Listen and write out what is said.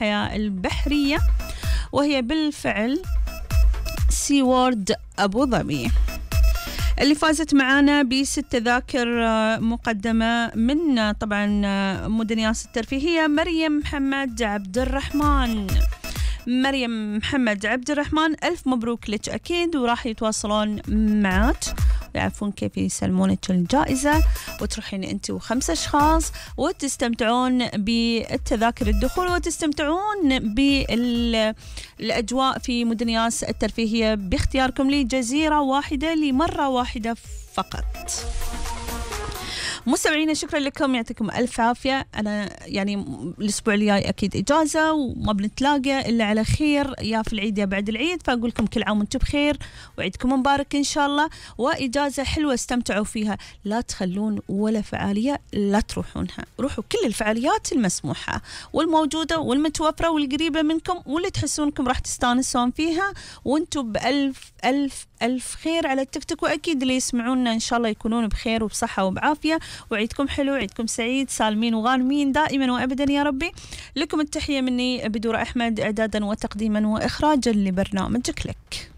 الحياة البحرية، وهي بالفعل سي وورد أبو ظبي، اللي فازت معانا ب6 تذاكر مقدمة من طبعا مدنياس الترفيهية مريم محمد عبد الرحمن. مريم محمد عبد الرحمن، ألف مبروك لك أكيد، وراح يتواصلون معك ويعرفون كيف يسلمونك الجائزة، وتروحين أنت و5 أشخاص وتستمتعون بالتذاكر الدخول وتستمتعون بالأجواء في مدنياس الترفيهية باختياركم لجزيرة واحدة لمرة واحدة فقط. مستمعينا شكرا لكم، يعطيكم ألف عافية. أنا يعني الأسبوع الجاي أكيد إجازة وما بنتلاقى إلا على خير، يا في العيد يا بعد العيد، فأقول لكم كل عام وانتم بخير وعيدكم مبارك إن شاء الله، وإجازة حلوة استمتعوا فيها، لا تخلون ولا فعالية لا تروحونها، روحوا كل الفعاليات المسموحة والموجودة والمتوفرة والقريبة منكم واللي تحسونكم راح تستانسون فيها، وانتم بألف ألف ألف خير على التيك توك، وأكيد اللي يسمعونا إن شاء الله يكونون بخير وبصحة وبعافية، وعيدكم حلو، عيدكم سعيد، سالمين وغانمين دائما وأبدا يا ربي. لكم التحية مني بدور أحمد، إعدادا وتقديما وإخراجا لبرنامج كليك.